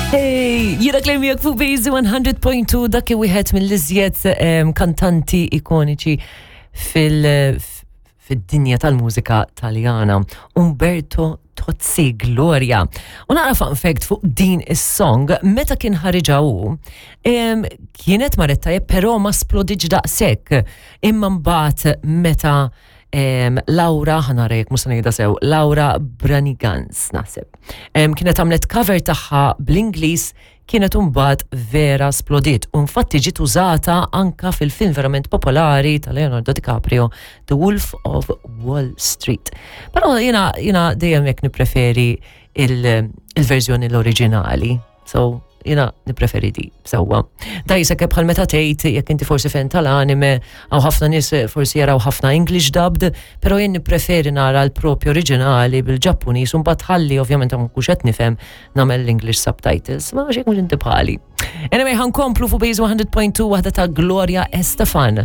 Hey, jira klem fuq Base 100.2 dak wieħed mill-iżjed kantanti ikoniċi fil- fid-dinja tal-mużika Taljana, Umberto Tozzi Gloria. U naqra fun fact fuq din is-song, meta kien ħariġa hu, kienet marret tajjeb però ma splodiġ daqshekk. Imma mbagħad meta Laura, ħanara jekk mhux se ngħidha sew, Laura Branigans naħseb. Kienet għamlet cover tagħha bl-Ingliż kienet imbagħad vera splodiet u infatti ġiet użata anka fil-film verament popolari ta' Leonardo DiCaprio, The Wolf of Wall Street. Però jiena jiena dejjem jekk nippreferi il-verżjoni l-oriġinali. So, jiena nippreferi di, sewwa. Da jisek bħal meta tgħid jekk inti forsi fan tal-anime, hawn ħafna nies forsi jaraw ħafna English dubbed, però jien nippreferi nara l-propju oriġinali bil-Ġappuniż u mbagħad ħalli ovvjament ma nkunx qed nifhem nagħmel l-English subtitles, ma nafx jekk mhux inti bħali. Anyway, ħankomplu fuq Base 100.2 waħda ta' Gloria Estefan.